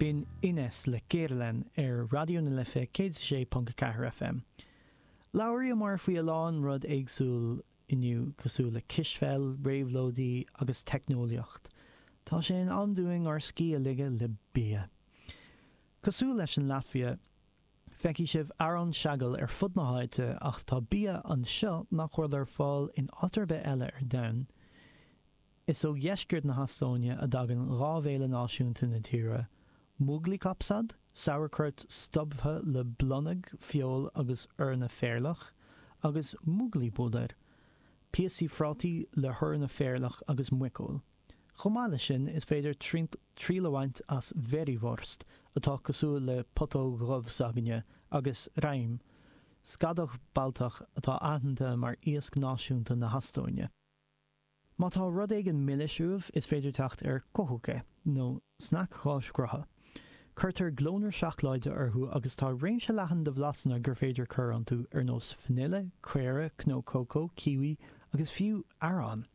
B'in Ines le Keerlen ar Raidió na Life 106.4 FM. Labhraíomar faoi a lán rud éagsúil inniu cosúil le cispheil, réabhlóidí agus teicneolaíocht. Tá sé in am dúinn ár scíth a ligeadh le bia. Cosúil leis an Laitvia, feicfidh sibh arán seagail ar fud na háite ach tá bia anseo nach bhfuil ar fáil in áit ar bith eile ar domhan. Is ó dheisceart na hEastóine a dtagann 2 bhéile náisiúnta na tíre, Muiglikapsad, sauerkraut stuimthe le blonag, feoil agus eorna phéarlach, agus Muiglipuder, píosaí prátaí le heorna phéarlach agus muiceoil. Chomh maith leis sin, is féidir triail a bhaint as Verivorst, atá cosúil le putóg dhubh s'againne, agus Räim, scadach Baltach atá aitheanta mar iasc náisiúnta na hEastóine. Má tá rud éigin milis uaibh, is féidir teacht ar Kohuke, nó sneaic cháis ghrutha. Cuirtear glónra seacláide orthu agus tá réimse leathan de bhlasanna gur féidir cur iontu, ar nós vanille, caora, cnó cócó, kiwi agus fiú arán.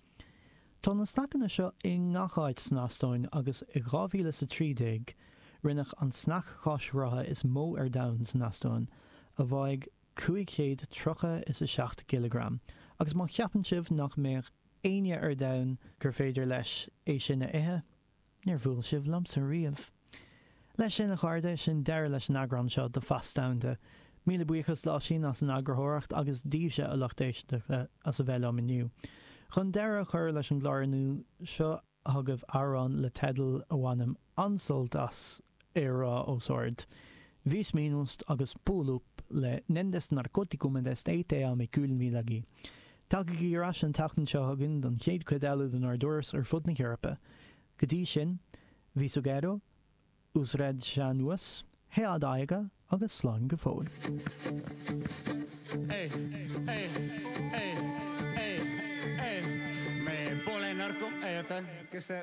Tá na sneaiceanna seo i ngach áit san Eastóin agus i 2013 rinneadh an sneaic cháis ghrutha is mó ar domhan san Eastóin, a bháigh 537 gcileagram, agus má cheapann sibh nach mbeadh éinne ar domhan gur féidir leis é sin a ithe, níor bhuail sibh liomsa riamh. Leis sin, a chairde, sin deireadh leis an eagrán seo de Phas Domhanda. Míle buíochas d'Oisín as an eagarthóireacht agus daoibhse, a lucht éisteachta, as a bheith liom inniu. Chun deireadh a chur leis an gclár inniu, seo chugaibh amhrán le teideal a bhainim an-sult as é a rá os ard, Viis Miinust agus Puuluup le Nendest Narkootikumidest Ei Tea Me Küll Midagi. Tagaigí ar ais an tseachtain seo chugainn don chéad chuid eile denár dturas ar fud na hEorpa. Go dtí sin, Visugero, Usredšanuas, Head aega agus slán go fóill. Ei, ei, ei, ei, ei, me pole narko-, ei oota, kes see.